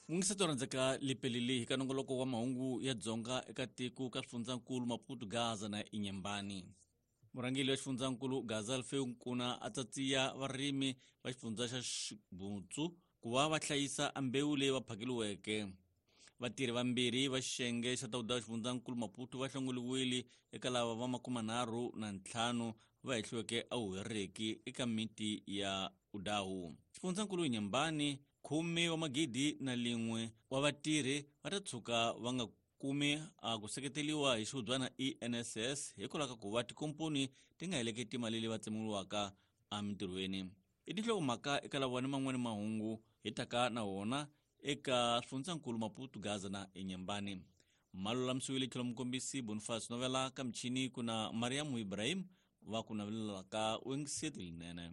Mungiseto rhandzeka lipelili hi ka nongoloko wa mahungu ya Dzonga eka tiko ka swifundzankulu Maputo, Gaza na Inyembani. Murhangeri wa xifundzankulu Gaza Alfeu Nkuna a tsatsiya varimi va xifundza xa Xibutsu ku va va hlayisa mbewu leyi va phakeliweke. Vatirhi vambirhi va xiyenge xa tawuda xifundzankulu Maputo va hlongoliwile eka lava va 35 va hehliweke a huhereki eka miti ya Udahu. Xifundzankulu Inyembani 10 wa magidi na lin'we wa vatirhi va ta tshuka va nga kumi a ku seketeriwa hi xihubyana ENSS hikwalaho ka ku va tikomponi ti nga heleketi mali leyi va tsemiwaka emintirhweni. I tinhlokomhaka eka lava ni man'wani mahungu hi taka na wona eka swifundzankulu Maputo, Gaza na Inyembani. Malulamisiwile tlhelo mukombisi Boniface Novela ka michini ku na Mariam Ibrahim va ku navelelaka wengiseti linene.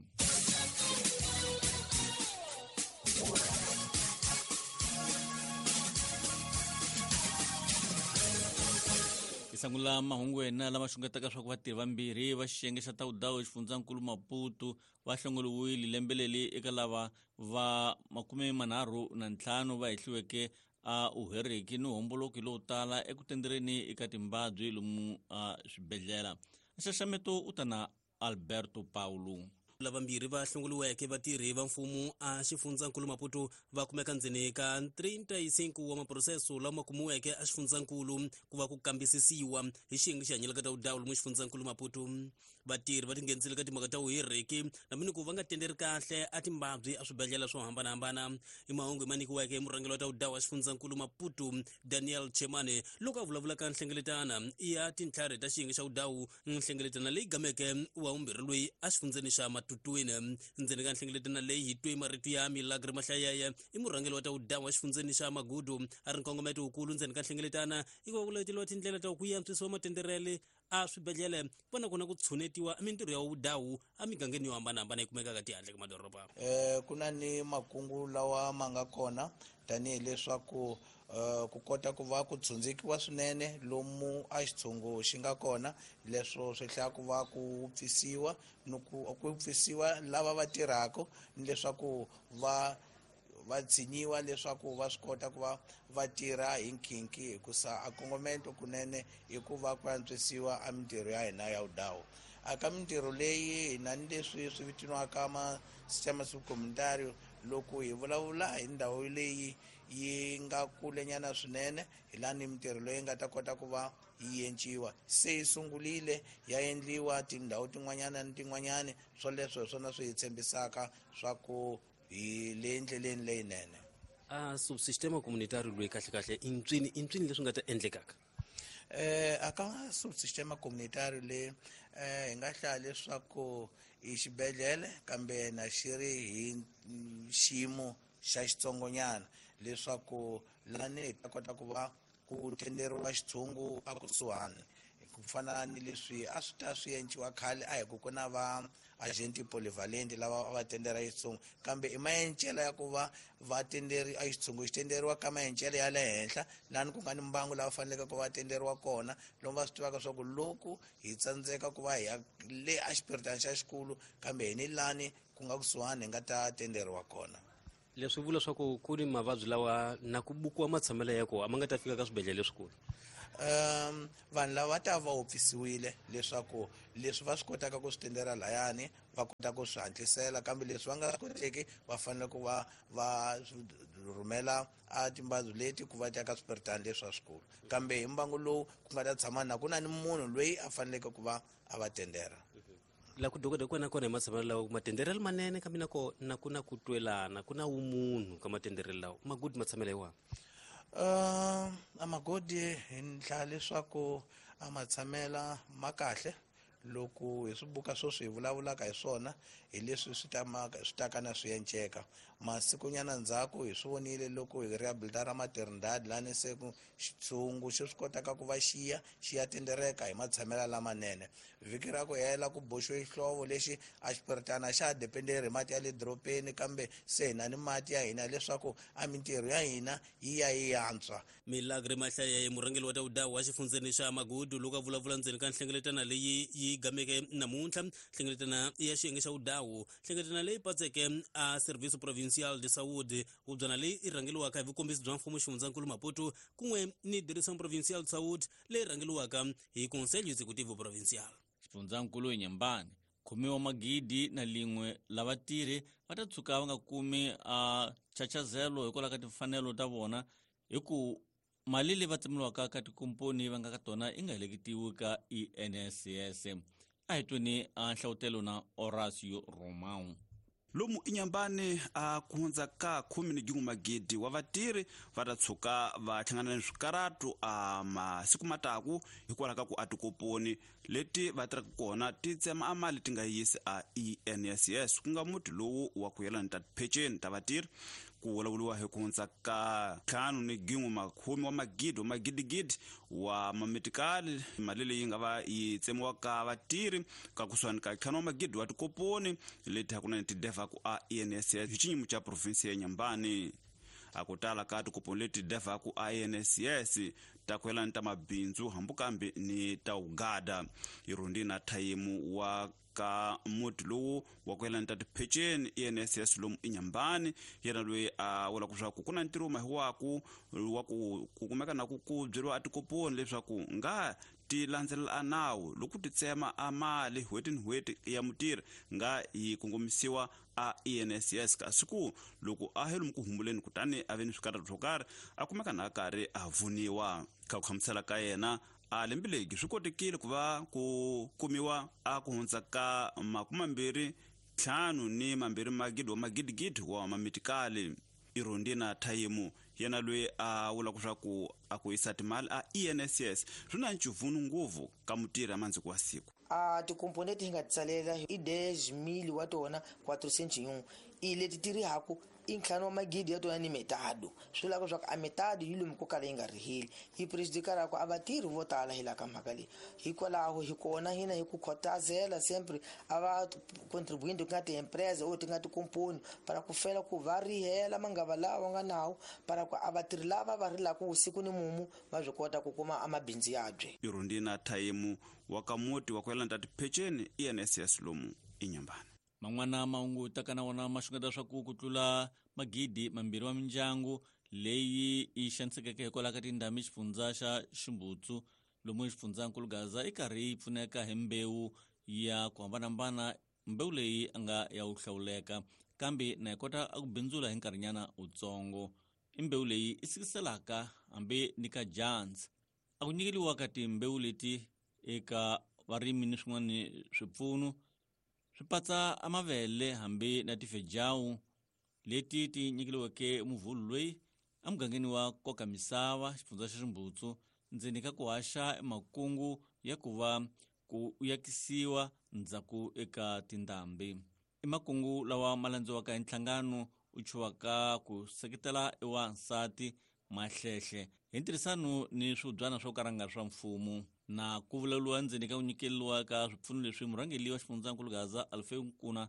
Hi sungula mahungu yena lama xungetaka swa ku vatirhi vambirhi va xiyenge xa tawudawu xifundzankulu Maputo va hlongoliwile lembe leri eka lava va 35 va hehliweke a uheriki ni homboloki lowu tala eku tendereni eka timbabyi lomu a swibedhlele. Nxaxameto u ta na Alberto Paulo. Lavambirhi va hlongoliweke vatirhi va mfumo a xifundzankulu Maputo va kumeka ndzeni ka 35 wa maproseso lama kumiweke a xifundzankulu ku va ku kambisisiwa hi xiyenge xi hanyelaka ta vudawu lomu xifundzankulu Maputo. Vatirhi va tinghenisile ka timhaka ta vuhiriki na ku va nga tenderi kahle a timbabyi a swibedhlele swo hambanahambana. I mahungu ma nyikiweke hi murhangeri wa ta vudawu wa xifundzankulu Maputo Daniel Chemane loko a vulavula ka nhlengeletana ya tintlhari ta xiyenge xa vudawu, nhlengeletana leyi gameke wa vumbirhi loyi a xifundzeni xa Matutuini. Ndzeni ka nhlengeletana leyi hi twe marito ya Milagre Mahlayeye, i murhangeri wa ta vudawu wa xifundzeni xa Magudu, a ri nkongometo wukulu ndzeni ka nhlengeletana i ku va ku leteliwa tindlela ta ku antswisiwa matenderele a swibedhlele ku na kona ku tshunetiwa mintirho ya vudawu emigangeni yo hambanahambana yi kumekaka tihandle ka madoroba. Ku na ni makungu lawa ma nga kona tanihileswaku ku kota ku va ku tshundzikiwa swinene lomu a xitshungu xi nga kona, leswo swi hlaya ku va ku pfisiwa ni ku pfisiwa lava va tirhaka ni leswaku va tshinyiwa leswaku va swi kota ku va va tirha hi nkhinkhi, hikusa a kongomento kunene i ku va ku antswisiwa a mintirho ya hina ya vudawu. A ka mintirho leyi hina ni leswi swi vitaniwaka ma sistema subcomunitario, loko hi vulavula hi ndhawu leyi yi nga kulenyana swinene, hi laha ni mintirho leyi nga ta kota ku va yi enciwa. Se yi sungurile ya endliwa tindhawu tin'wanyana ni tin'wanyana, swoleswo hi swona swi hi tshembisaka swa ku hi le ndleleni leyinene. A subsistema communitario loyi kahle kahle i ntswini leswi nga ta endlekaka? A ka subsistema communitario le hi nga hlaya leswaku i xibedhlele kambe na xi ri hi xiyimo xa xitsongonyana, leswaku lani hi ta kota ku va ku tenderiwa xitshungu a kusuhani, ku fana ni leswi a swi ta swi enciwa khale a hi ku ku na va agenti polyvalent lava va tendera xitshungu, kambe i maencelo ya ku va va tenderi a xitshungu xi tenderiwa ka maencelo ya le henhla lani ku nga ni mbangu lava faneleke ku va tenderiwa kona, lomu va swi tivaka swa ku loko hi tsandzeka ku va hi ya le a xipiritani xa xikulu kambe hi ni lani ku nga kusuhani hi nga ta tenderiwa kona. Leswi vula swa ku ku ni mavabyi lawa na ku bukiwa matshamelo ya kona a ma nga ta fika ka swibedhlele leswikulu. Vanhu lava va ta va wopfisiwile leswaku leswi va swi kotaka ku swi tendera layani va kota ku swi hatlisela, kambe leswi va nga swi koteki va fanele ku va va rhumela a timbabyi leti ku va ta ka swipiritani leswi swa swikulu, kambe hi mbangu lowu ku nga ta tshama na ku na ni munhu loyi a faneleke ku va a va tendera. La ku dokodela kona kona hi matshamelo lawa matenderelo manene, kambe na kona ku na ku twelana, ku na vumunhu ka matenderelo lawa. Magudi matshamelo hi wahi? A magodi hi ndlela leswaku a matshamela ma kahle. Loko hi swi buka sweswi hi vulavulaka hi swona hi leswi swi taka na swi enceka. Masikunyana ndzhaku hi swi vonile loko hi rehabilitara Maternidad lani se ku xitshungu xi swi kotaka ku va xiya xi ya tendereka hi matshamelo lamanene. Vhiki ra ku hela ku boxiwe xihlovo lexi a xipiritana xa ha dependeri hi mati ya le dorobeni, kambe se hi na ni mati ya hina leswaku a mintirho ya hina yi ya yi antswa. Milagre Mahlaya, murhangeri wa ta vudawu wa xifundzeni xa Magudu, loko a vulavula ndzeni ka nhlengeletana leyi yi gameke namuntlha, nhlengeletana ya xiyenge xa vudawu, nhlengeletana leyi patseke a Serviço Provincial Provincial de Saúde, hubyana leyi i rhangeliwaka hi vukombisi bya mfumo xifundzankulu Maputo kun'we ni Direção Provincial de Saúde leyi rhangeliwaka hi Conselho Executivo Provincial. Xifundzankulu Inhambane khumiwa magidi na lin'we lava tirhi va ta tshuka va nga kumi a chachazelo hikwalaho ka timfanelo ta vona hi ku mali leyi va tsemiwaka ka tikomponi va nga ka tona yi nga heleketiwi ka ENSS. A hi tweni a nhlavutelo na Horacio Romão. Lomu Inhambane a ku hundza ka 11,000 wa vatirhi va ta tshuka va hlangana ni swikaratu a masiku mataku hikwalaho ka ku a tikoponi leti va tirhaka kona ti tsema a mali ti nga yisi a ENSS, ku nga muti lowu wa ku yelana ta tipheceni ta vatirhi. Ku vulavuriwa hi ku hundza ka 5 ni gin'we makhume wa magidi wa magidigidi wa mametikali, mali leyi nga va yi tsemiwaka vatirhi ka kusuhani ka 5 wa magidi wa tikoponi leti hakunene ti devaku a ENSS hi xinyimo xa provinsi ya Inhambane. A ku tala ka tikoponi leti devaku a ENSS ta ku yelana ta mabindzu hambi kambe ni ta ugada. Irondina Thayimu wa ka muti lowu wa ku yelana ta tipheceni ENSS lomu Inhambane, yena loyi a vula leswaku ku na ntirho mahiwaku wa ku ku kumeka na ku ku byeriwa a tikoponi leswaku nga ti landzelela a nawu loko ti tsema a mali n'hweti ni n'hweti ya mutirhi nga yi kongomisiwa a ENSS, kasi ku loko a he lomu ku humbuleni kutani a ve ni swikarhato swo karhi a kumeka na a karhi a vuniwa. Ka ku hlamusela ka yena, a lembe legi swi kotekile ku va ku kumiwa a ku hundza ka 25 magidi wa magidigidi wa mamitikali. Irondina Thayimu yena loyi a vulaka leswaku a ku yisa timali a ENSS swi na ncivunu ngopfu ka mutirhi a mandziko wa siku. A tikomponi leti hi nga ti tsalela i 10 mil wa tona 401, i leti ti rihaku i ntlhanu wa magidi ya tona ni metado. Swi vulaka leswaku a metado yi lomu ko kala yi nga riheli, yi prejudicaraka a vatirhi vo tala hi laha ka mhaka leyi. Hikwalaho hi kona hina hi ku khotazela sempre a va contribuinte ku nga ti-empresa o ti nga tikomponi para ku fela ku va rihela mangava lawa nga nawu para ku a vatirhi lava va rilaka vusiku ni mumu va swi kota ku kuma amabindzu yabye. Irondina Thayimu wa ka muti wa ku yelana ta tipheceni ENSS lomu Inhambane. Man'wana mahungu taka na wona ma xungeta swa ku tlula 2,000 wa mindyangu leyi yi xanisekeke hikwalaho ka tindhambi xifundza xa Ximbutsu lomu xifundzankulu Gaza i karhi yi pfuneka hi mbewu ya ku hambanahambana, mbewu leyi a nga ya wu hlawuleka kambe na yi kota a ku bindzula hi nkarhinyana wutsongo. I mbewu leyi i sikiselaka hambi ni ka dyandza. A ku nyikeliwa ka timbewu leti eka varimi ni swin'wana swipfuno swi patsa amavele hambi na tifejawu leti ti nyikeliweke muvhulu loyi emugangeni wa koka misava xifundza xa Ximbutsu ndzeni ka ku haxa makungu ya ku va ku yakisiwa ndzhaku eka tindhambi. I makungu lawa ma landziwaka hi nhlangano u chuwaka ku seketela ewansati Mahlehle hi ntirhisano ni swibyana swo karanga swa mfumo na ku vulavuriwa ndzeni ka ku nyikeliwa ka swipfuno leswi. Murhangeri wa xifundzankulu Gaza Alfeu Nkuna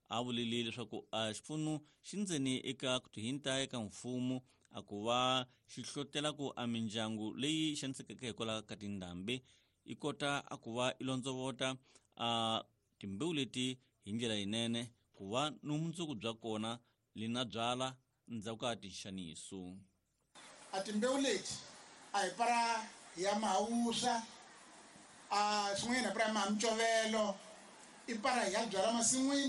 a vulile leswaku a xipfuno xi ndzeni eka ku tihinta eka mfumo a ku va xi hlotela ku a mindyangu leyi xanisekeke hikwalaho ka tindhambi yi kota a ku va i londzovota a timbewu leti hi ndlela yinene ku va ni vumundzuku bya kona li na byala ndzhaku ka tinxaniso. A timbewu leti a hi para ya mahawuswa, a swin'wanyana hi para ya maha micovelo, i para hi ya byala masin'wini.